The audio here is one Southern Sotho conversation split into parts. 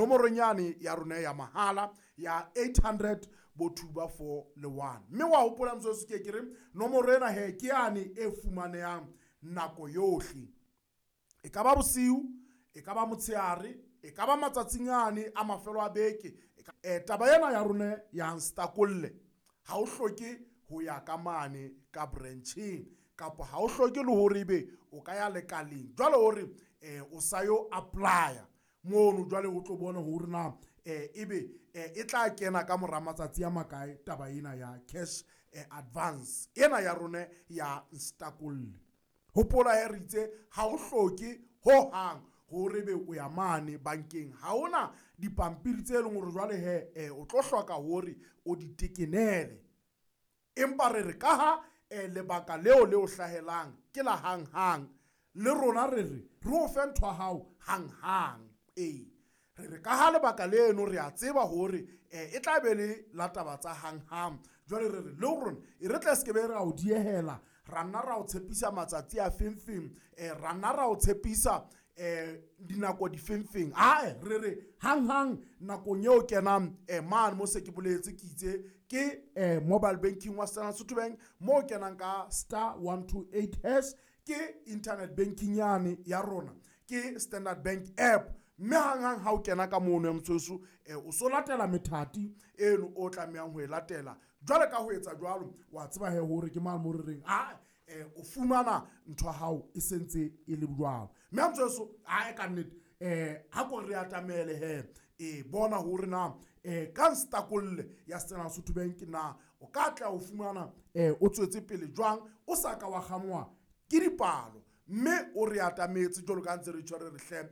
Nomorong yane ya rona ya mahala ya 800 bo 2 ba 4 le 1. Mme wa hopola motsotso ke ke re nomoro ena he ke yane e fumanehang nako yohle. E ka ba bosiu, e ka ba motshehare, e ka ba matsatsing ane a mafelo a beke. Taba ena ya rona ya nstakolle ha o hloke ho ya ka mane ka branch-eng kapa ha o hloke le hore ebe o ka ya lekaleng jwale hore o sa yo apply-a mono jwale o tlo bona hore na ebe e tla kena ka mora matsatsi a makae taba ena ya cash advance ena ya rona ya nstakolle. Hopola he re itse ha o hloke ho hang hore ebe o ya mane bankeng. Ha hona dipampiri tse leng hore jwale he o tlo hloka hore o di tekenele. Empa re re ka ha lebaka leo le o hlahelang ke la hanghang, le rona re re re o fe ntho ya hao hanghang. Ee, re re ka ha lebaka leno re a tseba hore e tla be le la taba tsa hanghang. Jwale re re le rona e re tle se ke be ra o diehela, ra nna ra o tshepisa matsatsi a feng feng, ra nna ra o tshepisa dinako difengfeng. Ae, re re hanghang nakong eo kenang mane mo se ke boletse ke itse ke mobile banking wa Standard Sotho Bank mo kenang ka star 128 hash, ke internet banking yane ya rona, ke Standard Bank app. Mme hanghang ha o kena ka mono ya motsweso, o so latela methati eno o tlamehang ho e latela. Jwale ka ho etsa jwalo, wa tseba he hore ke mang mo re reng a o fumana ntho ya hao e sentse e le jwalo. Mme motsweso ae ka nnete ha ko re atamele he e bona hore na ka nstakolle ya Standard Sotho Bank na o ka tla o fumana o tswetse pele jwang, o sa ka wa kgangwa ke dipalo. Mme o re atametse jwalo ka ntse re tjho re re hle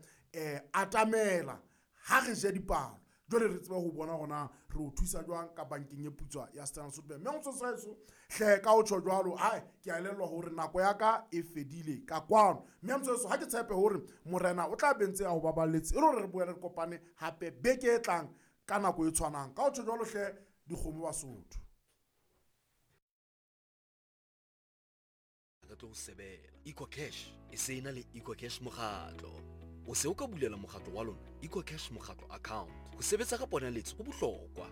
atamela ha re je dipalo. Jwale re tsebe ho bona hore na re o thusa jwang ka bankeng e putswa ya Standard Sotho Bank. Mme motsotso wa heso hle ka ho tjho jwalo, ae ke a elellwa hore nako ya ka e fedile ka kwano. Mme motsotso ha ke tshepe hore morena o tla be ntse a ho baballetse e le hore re boele re kopane hape beke e tlang ka nako e tshwanang. Ka ho tjho jwalo hle dikgomo Basotho. Re tlo sebela EcoCash e se ena le EcoCash mokgatlo. O se o ka bulela mokgatlo wa lona EcoCash mokgatlo account. Ho sebetsa ka ponaletso ho bohlokwa.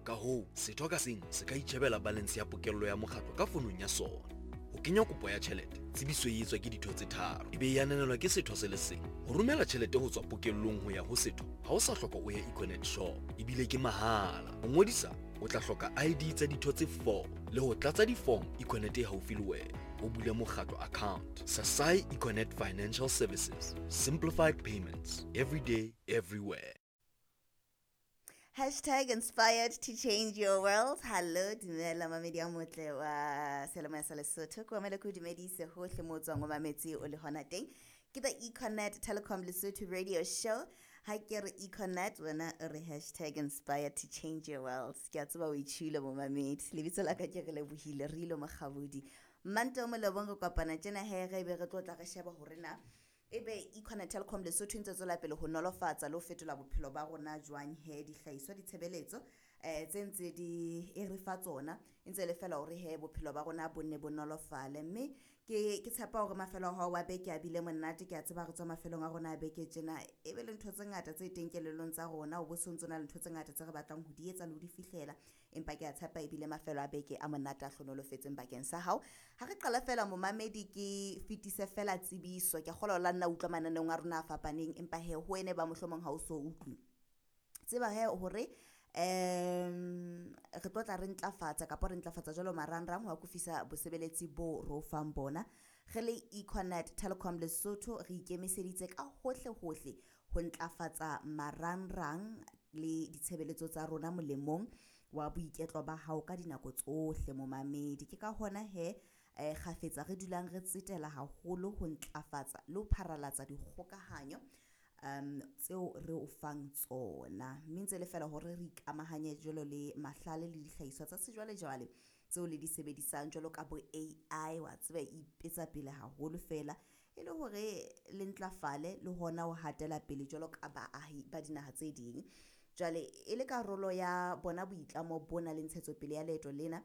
Ka hoo, setho ka seng se ka itjhebela balance ya pokello ya mokgatlo ka fonong ya sona. Ho kenya kopo ya tjhelete, tsebiso e etswa ke ditho tse tharo, e be e ananelwa ke setho se le seng. Ho romela tjhelete ho tswa pokellong ho ya ho setho, ha o sa hloka o ye Econet shop, ebile ke mahala. Ho ngodisa, o tla hloka ID tsa ditho tse 4 le ho tlatsa di-form Econet e haufi le wena. O bule mokgatlo account. Sasai Econet Financial Services. Simplified payments. Every day, everywhere. Hashtag inspired to change your world. Hello, dumela mamedi a motle wa seyalemoya sa Lesotho. Ke mamele ke o dumedise hohle mo o tswang o mametse o le hona teng. Ke the Econet Telecom Lesotho radio show. Ha ke re Econet, wena o re hashtag inspired to change your world. Ke a tseba o itjhuile momamedi. Lebitso la ka ke re lebohile, re ile Mokgabudi. Manto molobong re kopana tjena he re be re tlo tla re sheba hore na ebe Econet Telecom Lesotho e ntse tswela pele ho nolofatsa le ho fetola bophelo ba rona jwang he dihlahiswa ditshebeletso tse ntse di e re fa tsona e ntse le fela hore he bophelo ba rona bo nne bo nolofale. Mme ke tshepa hore mafelo a hao wa beke a bile monate. Ke a tseba re tswa mafelong a rona a beke tjena e be le ntho tse ngata tse teng kelellong tsa rona, o bo sontso na le ntho tse ngata tse re batlang ho di etsa le ho di fihlela, empa ke a tshepa ebile mafelo a beke a monate a hlonolofetseng bakeng sa hao. Ha re qala fela momamedi ke fetise fela tsebiso, ke a kgolwa la nna utlwa mananeong a rona a fapaneng, empa he ho wene ba mohlomong ha o so utlwe. Tseba he hore re tlo tla re ntlafatsa kapa re ntlafatsa jwalo marangrang ho akofisa bosebeletsi bo re o fang bona. Re le Econet Telecom Lesotho re ikemiseditse ka hohle hohle ho ntlafatsa marangrang le ditshebeletso tsa rona molemong wa boiketlo ba hao ka dinako tsohle momamedi. Ke ka hona he kgafetsa re dulang re tsetela haholo ho ntlafatsa le ho pharalatsa dikgokahanyo tseo re o fang tsona. Mme ntse le fela hore re ikamahanye jwalo le mahlale le dihlahiswa tsa sejwalejwale tseo le di sebedisang jwalo ka bo AI, wa tseba e ipetsa pele haholo fela e le hore le ntlafale le hona ho hatela pele jwalo ka baahi ba dinaha tse ding. Jwale e le karolo ya bona boitlamo bona le ntshetsopele ya leeto lena,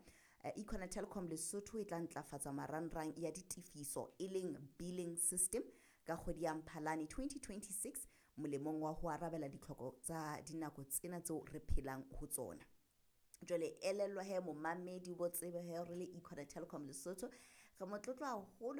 Econet Telecom Lesotho e tla ntlafatsa marangrang ya ditefiso e leng billing system ka kgwedi ya Mphalane 2026. Molemong wa ho arabela ditlhoko tsa dinako tsena tseo re phelang ho tsona. Jwale elellwa he momamedi, bo tsebe he re le Econet Telecom Lesotho re motlotlo haholo.